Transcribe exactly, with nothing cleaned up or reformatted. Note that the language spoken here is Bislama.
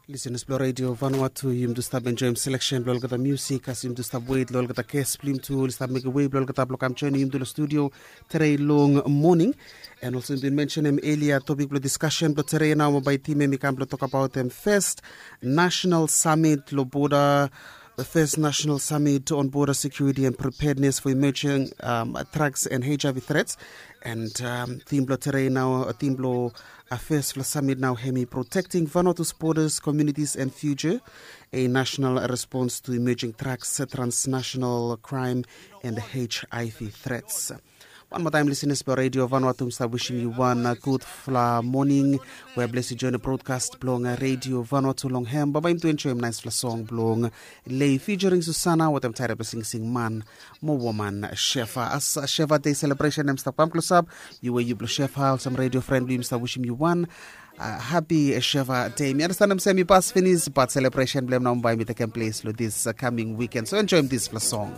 Lisenas blong redio Vanuatu, yumi tu stap enjoim seleksen blong olgeta musik as yumi tu stap wet long olgeta ges blong yumi tu oli stap mekim wei blong olgeta blong kam joinim yumi tu long studio. Tere long moning. And also bin mentionem elia topik blong diskasen blong tere nao mo bai tim em i kam blong tokabaot em first national summit long border. The first national summit on border security and preparedness for emerging um, drugs and H I V threats. And um, tim blong tere nao, tim blong a first fla summit nao hemi protecting Vanuatu's borders, communities and future, a national response to emerging threats, transnational crime and H I V threats. Wan moa taem lisenas blong redio Vanuatu, mi stap wisim yu wan gudfala moning. We blesi join brodkast blong redio Vanuatu long hem baba yumi tu enjoim naispela song blong Lei featuring Susana wetem taere blong singsing man mo woman Shefa. As Shefa Day celebration em stap kam klosap, yu we yu blong Shefa olsem redio fren blong yu mi stap wisim yu wan happy Shefa Day. Mi andastanem se mi pas finis, bat celebration blong em nao bai mi tekem ples long this coming weekend, so enjoim dispela song.